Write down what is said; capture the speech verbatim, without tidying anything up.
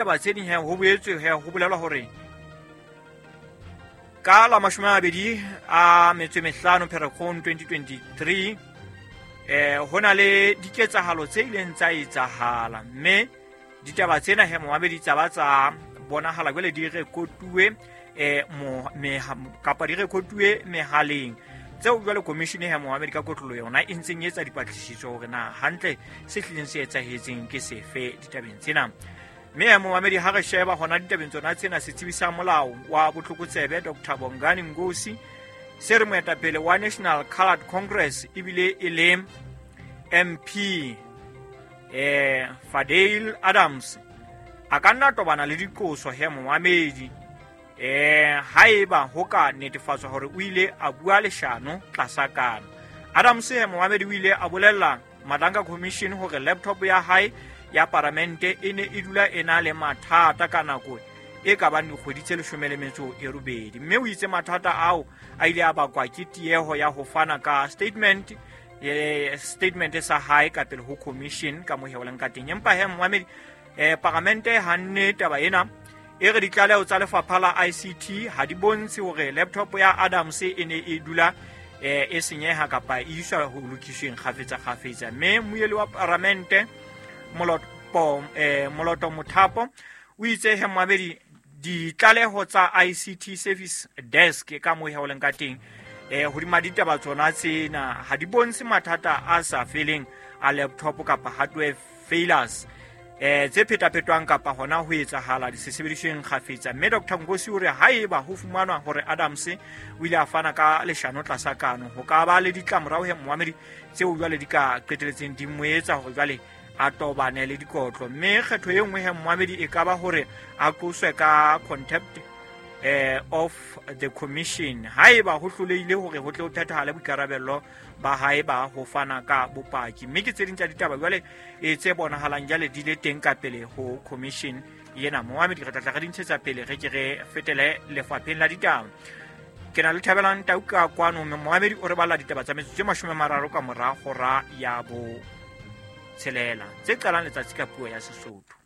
Ditaba tse ding he ho boetswe he ho bolelwa hore ka la mashome a mabedi a metso e mehlano Pherekgong twenty twenty-three eh ho na le diketsahalo tse ileng tsa etsahala, mme ditaba tsena he momamedi tsa ba tsa bonahala jwale di rekotuwe eh mo me kapa di rekotuwe mehaleng tseo jwale commission he momamedi ka kotlolo yona e ntseng e etsa dipatlisiso hore na hantle se hlileng se etsahetseng ke sefe ditabeng tsena. Mme momamedi ha re sheba hona ditabeng tsona tsena, setsebi sa molao wa botlokotsebe Doctor Bongani Ngosi se re moetapele wa National Coloured Congress ebile e le M P eh Fadil Adams a ka nna tobana le diqoso he momamedi eh haeba ho ka netefatswa hore o ile a bua leshano tlasa kano. Adams he momamedi o ile a bolella Madlanga Commission hore laptop ya hae ya paramente e ne e dula e na le mathata ka nako e ka bang dikgwedi tse leshome le metso e robedi, mme o itse mathata ao a ile a bakwa ke tieho ya ho fana ka statement eh statement sa hae ka pele ho commission ka moheolang ka teng. Empa he momamedi eh paramente hanne taba ena e re ditlaleho tsa lefapha la I C T ha di bontshe hore laptop ya Adams e ne e dula eh e senyeha kapa e iswa ho lokisweng kgafetsa kgafetsa. Mme moeli wa paramente Moloto eh Moloto Mothapo o itse he momamedi ditlaleho tsa I C T service desk ka moheolang ka teng eh hodima ditaba tsona tsena ha di bontshe mathata a sa feleng a laptop kapa hardware failures eh tse phetaphetwang kapa hona ho etsahala disebedisweng kgafetsa. Mme Doctor Ngosi o re haeba ho fumanwa hore Adams o ile a fana ka leshano tlasa kano, ho ka ba le ditlamorao he momamedi tseo jwale di ka qeteletseng di mo etsa hore jwale a tobane le dikotlo. Mme kgetho e nngwe he momamedi e ka ba hore a qoswe ka contempt eh of the commission haeba ho hlolehile hore ho tle ho phethahale boikarabello ba hae ba ho fana ka bopaki. Mme ke tse ding tsa ditaba jwale e tse bonahalang jwale di le teng ka pele ho commission yena. Momamedi re tla tla re di ntshetsa pele re ke re fetele lefapheng la ditaba. Ke na le Thabelang Tau ka kwano, mme momamedi o re balla ditaba tsa metsotso e mashome a mararo ka mora hora ya bo tshelela tse qalang letsatsi ka puo ya Sesotho.